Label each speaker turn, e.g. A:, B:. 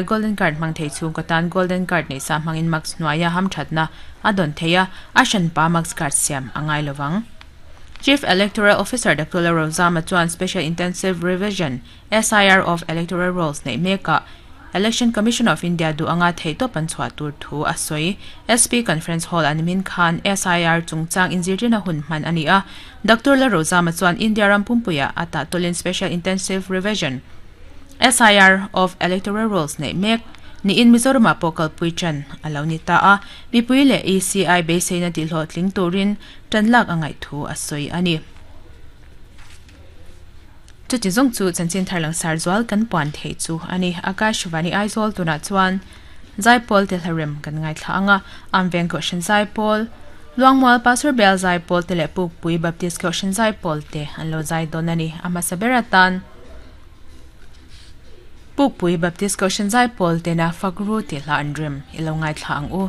A: Golden Card hmang thei chhungkaw tan Golden Card nei sa hmangin mask hnuaia hamthatna a dawn thei a, a hranpa mask card siam a ngai lovang. Chief Electoral Officer Doctor Lalrozama chuan Special Intensive Revision, SIR, of Electoral Rolls neih mekah Election Commission of India duh anga theihtawp an chhuah tur thu a sawi. SP Conference Hall a nimin khan SIR chungchang inzirtirna hun hman a ni a. Doctor Lalrozama chuan India ram pumpuiah a tahtawlin Special Intensive Revision, SIR, of Electoral Rolls neih mek niin Mizoramah pawh kalpui tan a lo ni ta a, mipui leh ECI beiseina tihhlawhtling turin tan lak a ngaih thu a sawi a ni. Chuti zawng chu chanchin thar langsar zual kan puan theih chu a ni. Akashvani Aizawl tunah chuan Zaipawl te hlarem kan ngaithla ang a, Amveng Kohhran Zaipawl, Luangmual Pastor Bel Zaipawl te leh Pukpui Baptist Kohhran Zaipawl te an lo zai dawn a ni. A hmasa ber atan Pukpui Baptist Kohhran Zaipawl tena Fakru tih hla an rem i lo ngaithla ang u.